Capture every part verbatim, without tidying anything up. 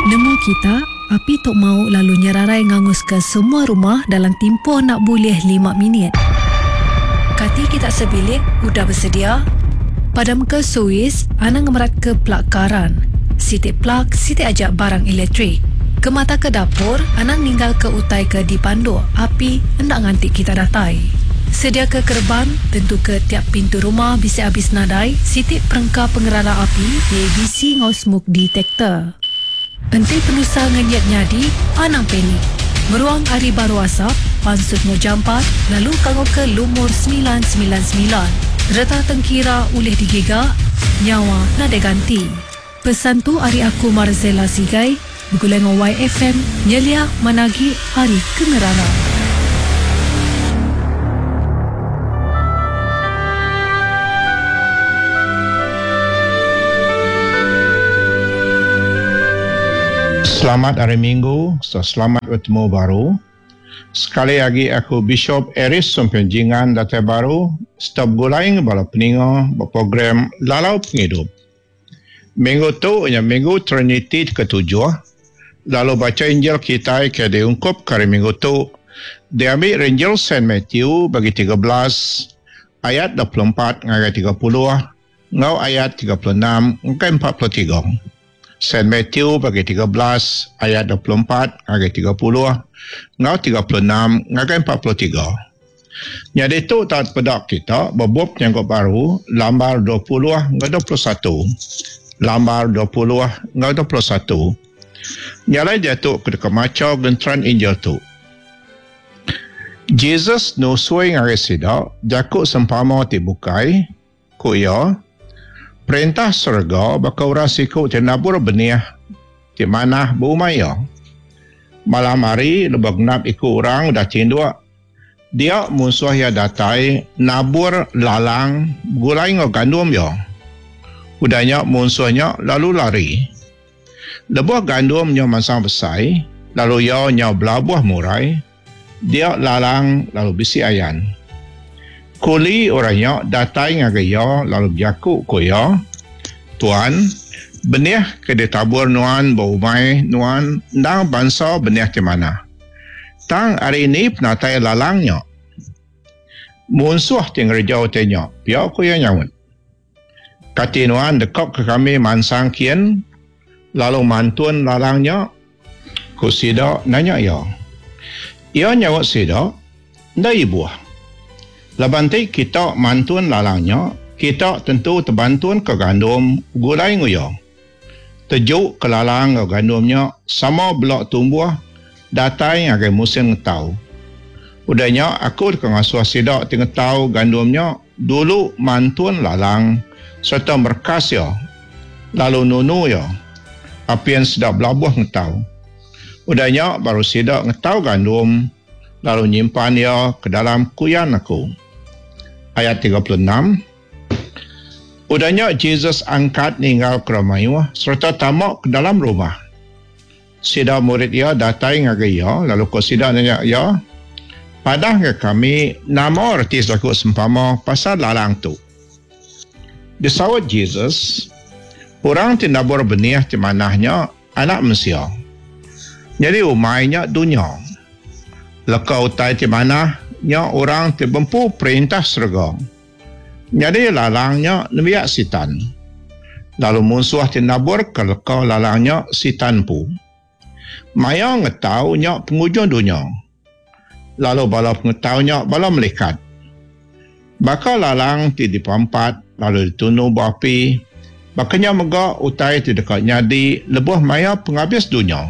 Nemu kita, api tu mau lalu nyerarai nganguska semua rumah dalam timpuh nak bulih lima minit. Kati kita sebilik udah bersedia? Padamka suis, anang ngemeratka plug karan. Siti plug, siti aja barang elektrik. Kemata ke dapur, anang ninggalka utai ke dipanduk api enda nganti kita datai. Sediaka kereban, tentuka tiap pintu rumah bisi abis nadai siti perengka pengerara api, A B C ngau smoke detector. Enti penusah ngenyit nyadi, anang panik. Meruang ari baru asap, pansut ngau jampat, lalu kangau ke lumur sembilan sembilan sembilan. Reta tengkira ulih digiga, nyawa nadai ganti. Pesan tu ari aku Marzela Sigai, begulai ngau Y F M, nyelia managi ari kengerara. Selamat hari Minggu, so selamat bertemu baru. Sekali lagi aku Bishop Aris Sompian Jingan datai baru, stop gulai bala peninga berprogram Lalau Penghidup. Minggu tu nya Minggu Trinity ketujuh, lalu baca Injil kita ke diungkup ke hari Minggu tu, diambil Injil Saint Matthew bagi tiga belas ayat dua puluh empat ngagai tiga puluh ngau ayat tiga puluh enam ngagai empat puluh tiga. Saint Matthew bagi tiga belas ayat dua puluh empat ngagai tiga puluh ngau tiga puluh enam ngagai empat puluh tiga. Jadi tu tak pedak kita bebup nyangkut baru lambar dua puluh ngau dua puluh satu. Lambar dua puluh ngau dua puluh satu. Nyalai dia tu ke deka maca genteran Injil tu. Jesus nusui ngagai sida jaku sempama ti bukai, ku iya, perintah serega baka orang siku ti nabur benih ti manah berumah iya. Malam hari lebuh genap iku orang udah tinduk, dia musuh iya datai nabur lalang gulai ngau gandum iya. Udah nya musuhnya lalu lari. Lebuh gandum nya mansang besai, lalu iya nyau belabuh murai, dia lalang lalu bisi ayan. Kuli orangnya datai ngagai iya lalu berjaku ku iya, Tuan, benih ke ditabur nuan berumai nuan endang bangsa benih ti manah. Tang hari ini penatai lalangnya. Munsuh ti ngereja utai nya, pia ku iya nyaut. Kati nuan dekok ke kami mansang kian, lalu mantun lalangnya? Ku sida nanya iya. Iya nyaut sida, nda ibuh. Laban ti kita mantun lalangnya, kita tentu terbantun ke gandum gulai nguya. Tejuk ke lalang ke gandumnya sama belak tumbuh datai ngagai musim ngetau. Udahnya aku deka ngasuh sida ti ngetau gandumnya dulu mantun lalang serta merkas ya, lalu nunu ya, apian sedap belabuh ngetau. Udahnya baru sida ngetau gandum lalu nyimpan ia ke dalam kuyan aku. Ayat tiga puluh enam. Udahnya Jesus angkat ninggal ke ramayuh serta tamak ke dalam rumah. Sida murid ia datai ngagai ia lalu ko sida nanya ia, padah ke kami nama reti jaku sempama pasal lalang tu. Disaut Jesus, orang ti nabur benih ti manahnya anak mensia. Jadi umainya dunia. Leka utai ti manah nya orang ti bempu perintah serega. Jadi lalangnya nembiak sitan. Lalu munsuh ti nabur ke leka lalangnya sitan pu. Maya ngetau nya penghujung dunia. Lalu bala pengetau nya bala melikat. Baka lalang ti dipampat lalu ditunu berapi, bakanya mega utai ti deka nyadi lebuh maya penghabis dunia.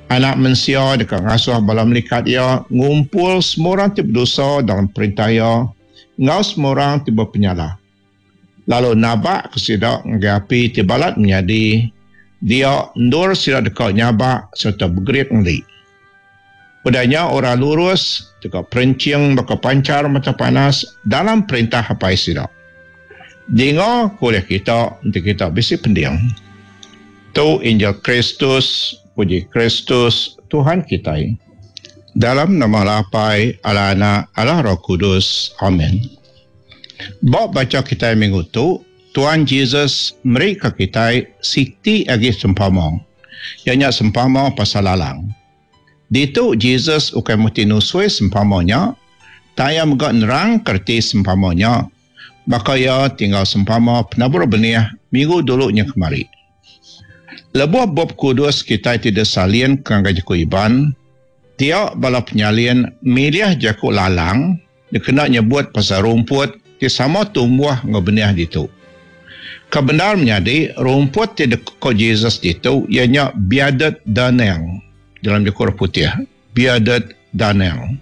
Anak mensia deka ngasuh bala melikat ia ngumpul semua orang ti berdosa dalam perintah ia ngau semua orang ti berpenyalah. Lalu nabak ke sida ngagai api ti balat menyadi, dia endur sida deka nyabak serta bergerit ngeli. Udahnya orang lurus deka perencing baka pancar mata panas dalam perintah apai sida. Dinga kuliah kita enti kita bisi pending. Tu Injil Kristus, puji Kristus Tuhan kita. Dalam nama Allah Apai, Allah Anak, Allah Roh Kudus. Amin. Bab baca kita minggu tu, Tuhan Jesus meri ke kita siti agi sempama. iya nya sempama pasal lalang. Ditu Jesus ukai muti nusui sempama nya, tang iya mega nerangka reti sempama nya, baka iya ti enggau sempama penabur benih minggu dulu nya kemari. Lebuh Bup Kudus kitai ti disalin ke ngagai jaku Iban, dia bala penyalin milih jaku lalang dikena nyebut pasal rumput ti sama tumbuh enggau benih ditu. Ke bendar menyadi, rumput ti deko Jesus ditu iya nya bearded darnel dalam jaku orang putih, bearded darnel.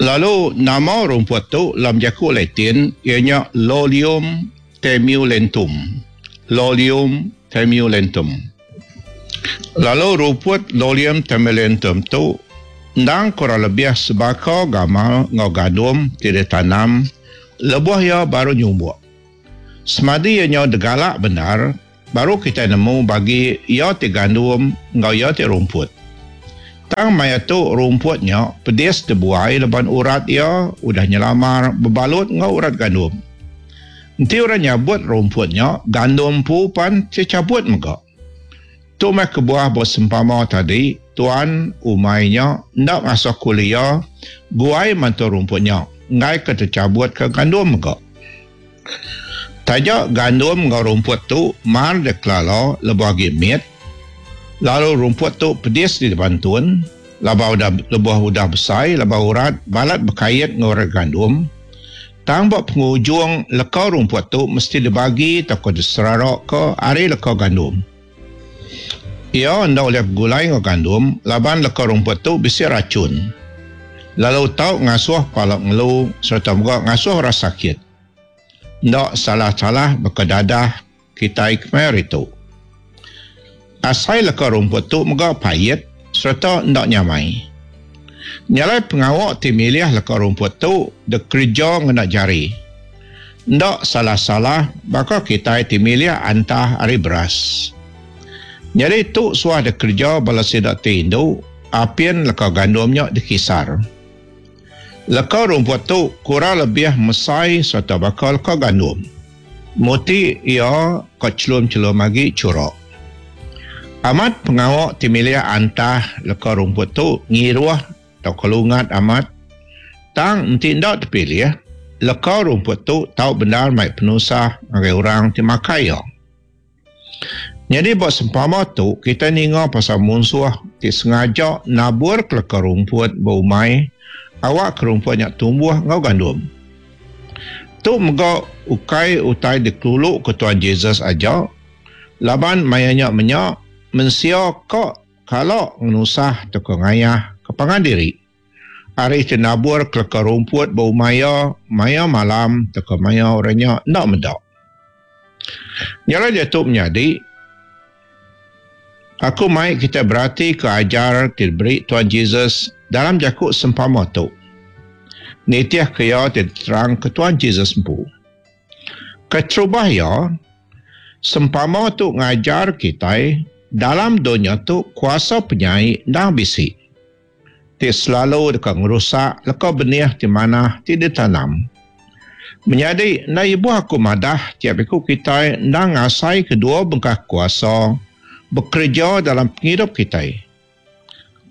Lalu nama rumput tu dalam jaku Latin iya nya Lolium temulentum. Lolium temulentum. Lalu rumput Lolium temulentum tu endang kurang lebih sebaka gamal enggau gandum ti ditanam lebuh iya baru nyumbuk. Semadi iya nyau degalak bendar, baru kitai nemu bagi iya ti gandum enggau iya ti rumput. Tang maya tu rumput nya pedis dibuai laban urat iya udah nyelamar bebalut enggau urat gandum. Enti orang nyabut rumput nya, gandum empu pan secabut mega. Tu meh kebuah ba sempama tadi, tuan umai nya enda ngasuh kuli iya guai mantu rumput nya, enggai ke tercabut ke gandum mega. Taja gandum enggau rumput tu mar dikelala lebuh agi mit, lalu rumput tu pedis dibantun, laban udah lebuh udah besai laban urat balat bekait enggau urat gandum. Tang ba pengujung leka rumput tu mesti dibagi tauka diseraraka ari leka gandum. Ia enda ulih begulai enggau gandum laban leka rumput tu bisi racun, lalu tau ngasuh pala ngelu sereta mega ngasuh orang sakit. Enda salah-salah baka dadah kitai kemaya hari tu. Asai leka rumput tu mega pait sereta enda nyamai. Nyalai pengawa ti milih leka rumput tu dikereja ngena jari. Enda salah-salah baka kitai ti milih antah ari beras. Nyadi tu suah dikereja bala sida ti indu apin leka gandum nya dikisar. Leka rumput tu kurang lebih mesai sereta baka leka gandum. Muti iya ka chelum-chelum agi churak. Amat pengawa ti milih antah leka rumput tu ngiruh tauka lungat amat, tang enti enda terpilih, leka rumput tu tau bendar mai penusah ngagai orang ti makai iya. Nyadi ba sempama tu kita ninga pasal munsuh ti sengaja nabur ke leka rumput ba umai awak ke rumput nya tumbuh enggau gandum. Tu mega ukai utai dikelulu ke Tuhan Jesus aja, laban maya nya menya mensia ka kala ngenusah tauka ngayah ke pangan diri. Ari ti nabur ke leka rumput ba umai iya maya malam tauka maya orang nya enda meda. Nyalai diatu menyadi, aku mai kita berati ke ajar ti diberi Tuhan Jesus dalam jaku sempama tu. Nitih ke iya ti diterang ke Tuhan Jesus empu. Keterubah iya, sempama tu ngajar kitai dalam dunya tu kuasa penyai endang bisi, ti selalu deka ngerusak leka benih ti manah ti ditanam. Menyadi, enda ibuh aku madah tiap iku kitai endang ngasai kedua bengkah kuasa bekereja dalam pengidup kitai.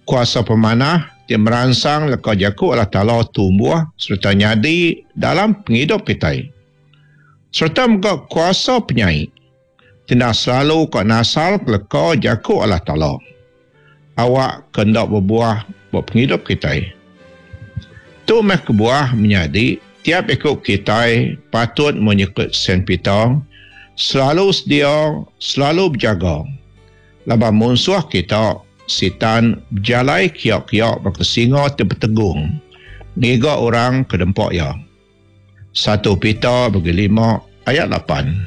Kuasa pemanah ti meransang leka jaku Allah Taala tumbuh sereta nyadi dalam pengidup kitai. Sereta mega kuasa penyai ti endang selalu ka nasal ke leka jaku Allah Taala awak ke enda bebuah ba pengidup kitai. Tu meh kebuah menyadi tiap iku kitai patut menyekut Saint Peter selalu sedia, selalu berjaga. Laban munsuh kita, sitan, berjalai kiak-kiak baka singa ti betegung, ngiga orang ke dempa iya. Satu Peter bagi lima ayat lapan.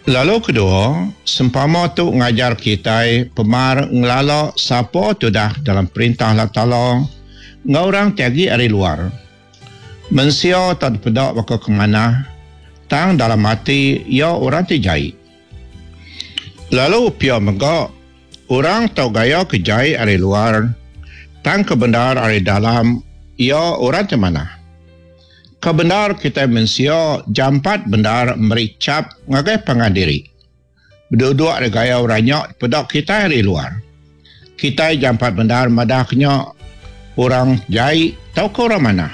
Lalu kedua, sempama tu ngajar kitai pemar ngelala sapa tudah dalam perintah Allah Taala enggau orang ti agi ari luar. Mensia tak dipeda baka ke manah, tang dalam ati iya orang ti jai. Lalu pia mega, orang tau gaya ke jai ari luar, tang ke bendar ari dalam iya orang ti manah. Ke bendar kitai mensia jampat bendar meri cap ngagai pangan diri. Beduduk ari gaya orang nya dipeda kitai ari luar. Kitai jampat bendar madah ke nya orang jai tauka orang manah.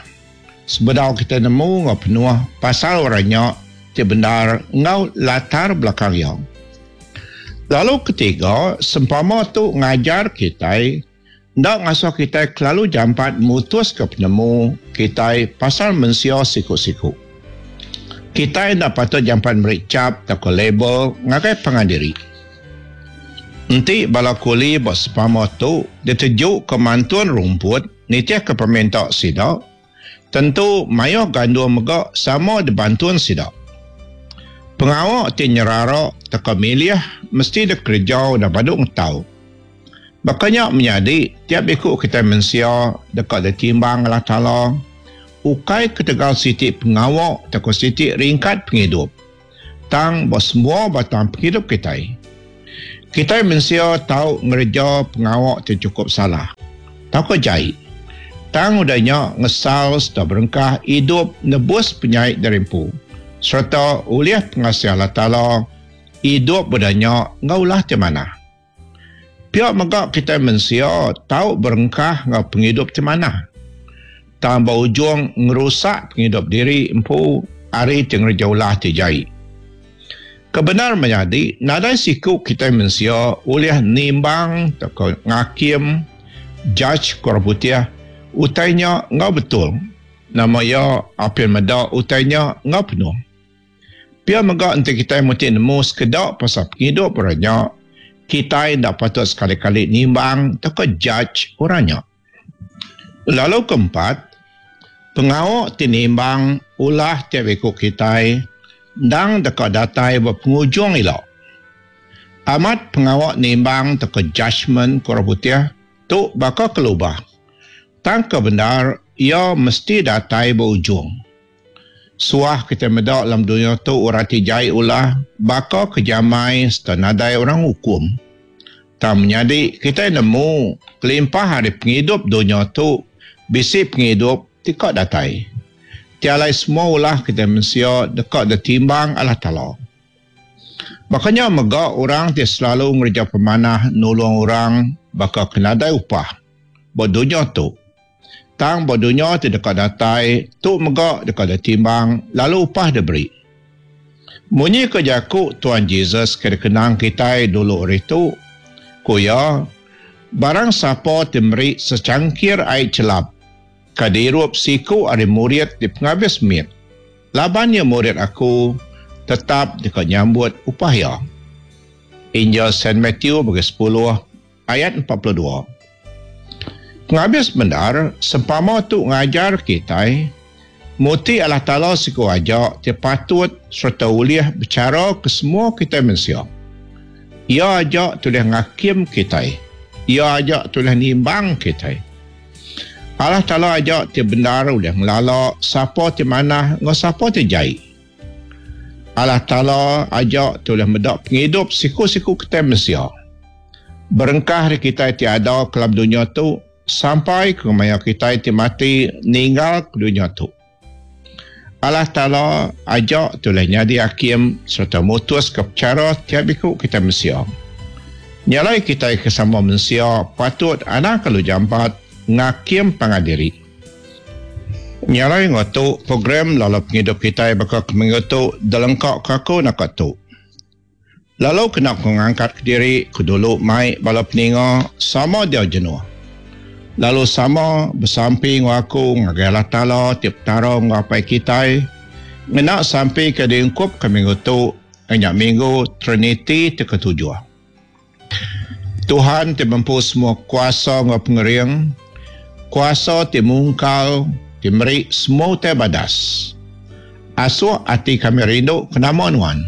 Sebedau kitai nemu enggau penuh pasal orang nya ti bendar enggau latar belakang iya. Lalu ketiga, sempama tu ngajar kitai enda ngasuh kitai kelalu jampat mutuska penemu kitai pasal mensia siku-siku. Kitai enda patut jampat meri chap tauka label ngagai pangan diri. Enti bala kuli ba sempama tu ditejuka mantun rumput nitihka peminta sida, tentu mayuh gandum mega sama dibantun sida. Pengawa ti nyerara tauka milih mesti dikereja udah badu ngetau. Baka nya menyadi, tiap iku kitai mensia deka ditimbang Allah Taala ukai ketegal siti pengawa tauka siti ringkat pengidup, tang ba semua batang pengidup kitai. Kitai mensia tau ngereja pengawa ti chukup salah tauka jai, tang udah nya ngesal sereta berengkah idup nebus penyai diri empu sereta ulih pengasih Allah Taala idup udah nya enggau ulah ti manah. Pia mega kitai mensia tau berengkah enggau pengidup ti manah, tang ba ujung ngerusak pengidup diri empu ari ti ngereja ulah ti jai. Kebendar menyadi, nadai siku kitai mensia ulih nimbang tauka ngakim, judge ku orang putih, utai nya enggau betul. Nama iya apin meda utai nya enggau penuh. Pia mega enti kitai muti nemu sekeda pasal pengidup orang nya, kitai enda patut sekali-kali nimbang tauka judge orang nya. Lalu keempat, pengawa ti nimbang ulah tiap iku kitai endang deka datai ba pengujung ila. Amat pengawa nimbang tauka judgement ku orang putih tu baka ke lubah, tang ke bendar iya mesti datai ba ujung. Suah kitai meda dalam dunya tu orang ti jai ulah baka ke jamai sereta nadai orang ngukum. Tang menyadi kitai nemu kelimpah ari pengidup dunya tu bisi pengidup ti ka datai. Ti alai semua ulah kitai mensia deka ditimbang Allah Taala. Baka nya mega orang ti selalu ngereja pemanah nulung orang baka ke nadai upah ba dunya tu. Tang ba dunya ti deka datai tu mega deka ditimbang lalu upah diberi. Munyi ke jaku Tuan Jesus ke dikenang kitai dulu ari tu, ku iya, barang sapa ti meri secangkir ai chelap ke diirup siku ari murid ti pengabis mit, laban iya murid aku, tetap deka nyambut upah iya. Injil Saint Matthew bagi sepuluh ayat empat puluh dua. Pengabis bendar, sempama tu ngajar kitai muti Allah Taala siku aja ti patut sereta ulih bechara ke semua kitai mensia. Iya aja ti ulih ngakim kitai. Iya aja ti ulih nimbang kitai. Allah Taala aja ti bendar ulih ngelala sapa ti manah enggau sapa ti jai. Allah Taala aja ti ulih meda pengidup siku-siku kitai mensia. Berengkah ari kitai ti ada ke dalam dunya tu sampai ke maya kitai ti mati ninggal ke dunya tu. Allah Taala aja ti ulih nyadi hakim sereta mutus ke pechara tiap iku kitai mensia. Nya alai kitai ke sama mensia patut anang kelalu jampat ngakim pangan diri. Nya alai enggau tu program lalu pengidup kitai baka ke minggu tu dilengka ke aku naka tu. Lalu kena ku ngangkat kediri ku dulu mai bala peninga sama diau jenuh. Lalu sama besampi enggau aku ngagai Allah Taala ti Petara enggau Apai kitai ngena sampi ke diungkup ke minggu tu nya minggu Triniti ti ketujuh. Tuhan ti bempu semua kuasa enggau pengering, kuasa ti mungkal ti meri semua utai badas. Asuh ati kami rindu ke nama Nuan.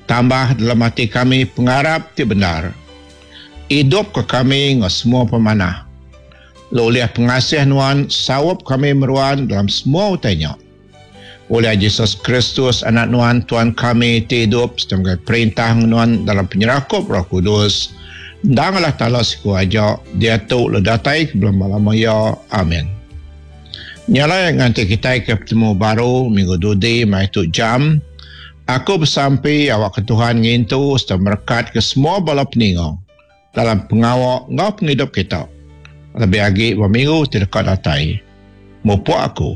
Tambah dalam ati kami pengarap ti bendar. Idup ke kami enggau semua pemanah. Lalu ulih pengasih Nuan saup kami meruan dalam semua utai nya. Oleh Jesus Kristus anak Nuan Tuan kami ti idup sereta megai perintah Nuan dalam penyerakup Roh Kudus. Endang Allah Taala siku aja diatu lalu datai ke belama-lama iya. Amin. Nya alai nganti kitai ke betemu baru minggu dudi mai tu jam. Aku besampi awakka Tuhan ngintu sereta merekatka semua bala peninga dalam pengawa enggau pengidup kita, lebih agi ba minggu ti deka datai. Mupuk aku.